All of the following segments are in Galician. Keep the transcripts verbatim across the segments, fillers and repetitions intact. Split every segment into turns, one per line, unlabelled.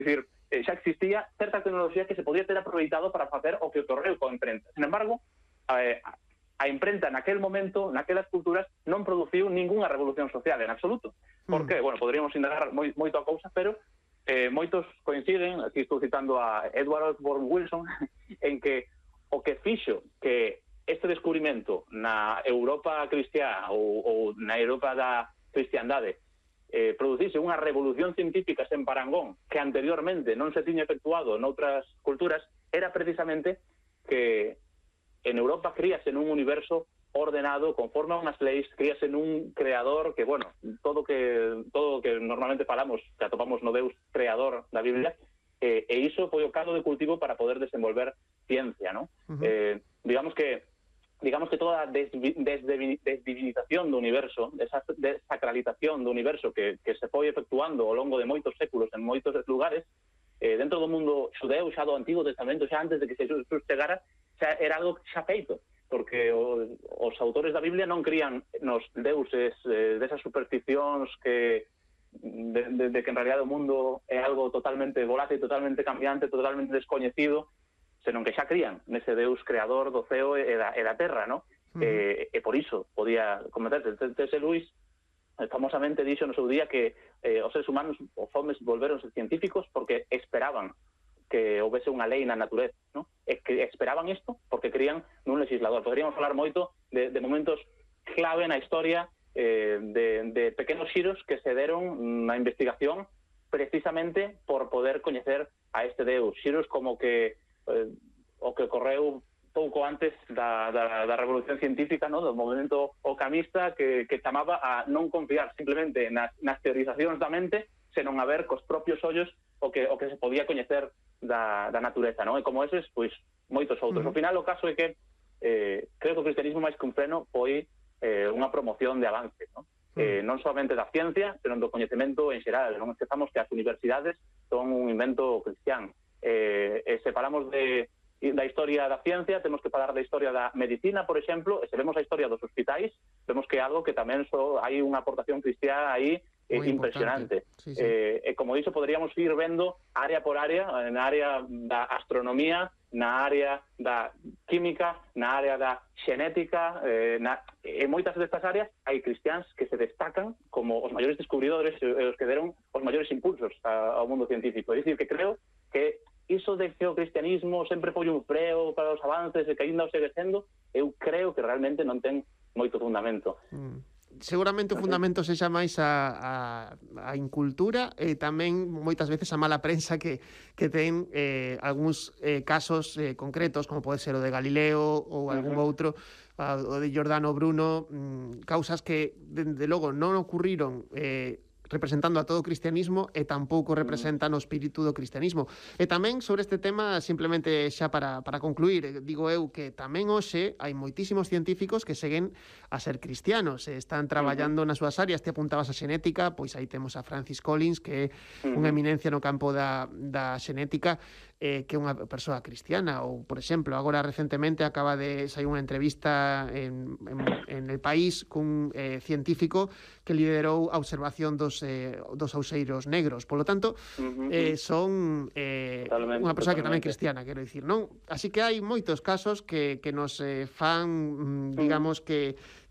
dicir, eh, xa existía certa tecnoloxía que se podía ter aproveitado para facer o que ocorreu coa imprenta. Sin embargo, eh, a imprenta naquel momento, naquelas culturas, non produciu ningunha revolución social en absoluto. Por que? Bueno, poderíamos indagar moi, moito a cousa, pero eh, moitos coinciden, aquí estou citando a Edward Osborne Wilson, en que o que fixo que este descubrimento na Europa cristiá ou, ou na Europa da cristiandade eh, producise unha revolución científica sen parangón que anteriormente non se tiña efectuado noutras culturas, era precisamente que en Europa críase nun universo ordenado, conforme a unhas leis, críase nun creador que, bueno, todo que todo que normalmente falamos, que atopamos no Deus creador da Biblia, eh, e iso foi o caldo de cultivo para poder desenvolver ciencia, ¿no? Uh-huh. Eh, digamos que digamos que toda a desdivinización do universo, esa desacralización do universo que, que se foi efectuando ao longo de moitos séculos en moitos lugares, eh, dentro do mundo xudeu, xa do Antigo Testamento, xa antes de que Jesus chegara, xa era algo xa feito, porque o, os autores da Biblia non crían nos deuses eh, desas supersticións que de, de, de que en realidad o mundo é algo totalmente volátil, totalmente cambiante, totalmente descoñecido, senón que xa crían nese Deus creador do ceo e da, e da terra, ¿no? Uh-huh. E, e por iso podía cometerse. T S Lewis famosamente dixo no seu día que eh, os seres humanos, os homes, volveronse científicos porque esperaban que houvese unha lei na natureza, ¿no? E que esperaban isto porque crían nun legislador. Poderíamos falar moito de, de momentos clave na historia, eh, de, de pequenos xiros que se deron na investigación precisamente por poder coñecer a este Deus. Xiros como que eh, o que ocorreu pouco antes da, da, da revolución científica, ¿no? Do movimento ocamista que, que chamaba a non confiar simplemente nas, nas teorizacións da mente, senón a ver cos propios ollos o que, o que se podía coñecer da, da natureza, ¿no? E como eses, pois, moitos outros. Uh-huh. Ao final, o caso é que eh, creo que o cristianismo máis que un freno foi eh, unha promoción de avance, ¿no? Uh-huh. Eh, non somente da ciencia, senón do coñecemento en xeral. Non esquezamos que as universidades son un invento cristián. Eh, eh, se falamos de, da historia da ciencia, temos que falar da historia da medicina, por exemplo, e se vemos a historia dos hospitais, vemos que é algo que tamén so, hai unha aportación cristiá aí eh, impresionante. Sí, sí. Eh, e como dixo, poderíamos ir vendo área por área, na área da astronomía, na área da química, na área da xenética, eh, na, en moitas destas áreas hai cristiáns que se destacan como os maiores descubridores e os que deron os maiores impulsos a, ao mundo científico. É dicir, que creo que iso de que o cristianismo sempre foi un freo para os avances e que ainda o segue sendo, eu creo que realmente non ten moito fundamento.
Mm. Seguramente o fundamento sexa máis a, a, a incultura e tamén moitas veces a mala prensa que, que ten eh, algúns eh, casos eh, concretos, como pode ser o de Galileo ou algún uh-huh. outro, o de Giordano Bruno, mm, causas que, dende logo, non ocurriron eh, representando a todo o cristianismo e tampouco representan o espírito do cristianismo. E tamén sobre este tema, simplemente xa para, para concluir, digo eu que tamén hoxe hai moitísimos científicos que seguen a ser cristianos, e están traballando uh-huh. nas súas áreas. Te apuntabas a xenética, pois aí temos a Francis Collins, que é uh-huh. unha eminencia no campo da, da xenética, eh, que é unha persoa cristiana. Ou, por exemplo, agora recentemente acaba de sair unha entrevista en, en, en El País cun eh, científico que liderou a observación dos Eh, dos auseiros negros. Polo tanto, uh-huh. eh, son eh, unha persoa que tamén é cristiana, quero dicir, non? Así que hai moitos casos que, que nos eh, fan, digamos, uh-huh. que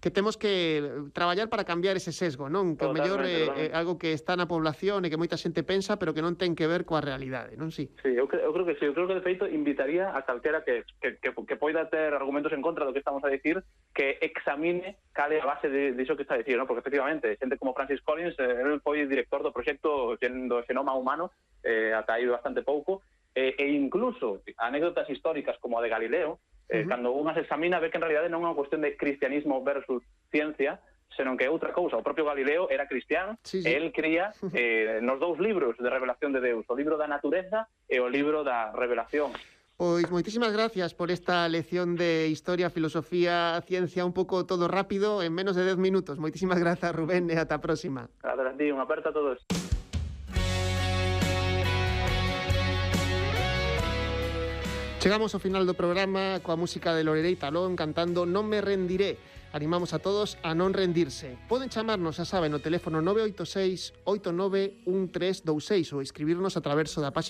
que temos que traballar para cambiar ese sesgo, non? Que o mellor é eh, algo que está na población e que moita xente pensa, pero que non ten que ver coa realidade, non? Sí,
sí eu, cre eu creo que sí. Eu creo que, de feito, invitaría a calquera que, que, que, que poida ter argumentos en contra do que estamos a dicir, que examine cal é a base de, de iso que está a dicir, non? Porque, efectivamente, xente como Francis Collins, eh, ele foi director do proxecto do xenoma humano, eh, ata aí bastante pouco, eh, e incluso anécdotas históricas como a de Galileo, Eh, uh-huh. cando unha se examina, ve que en realidade non é unha cuestión de cristianismo versus ciencia, senón que é outra cousa. O propio Galileo era cristián, sí, sí. e el cría eh, nos dous libros de revelación de Deus, o libro da natureza e o libro da revelación.
Pois moitísimas gracias por esta lección de historia, filosofía, ciencia, un pouco todo rápido, en menos de dez minutos. Moitísimas grazas, Rubén, e ata a próxima.
Grazas a ti, unha aperta a todos.
Chegamos ao final do programa coa música de Lorelei Talón cantando Non me rendiré. Animamos a todos a non rendirse. Poden chamarnos, xa saben, no teléfono nove oito seis oito nove un tres dous seis ou escribirnos a través da página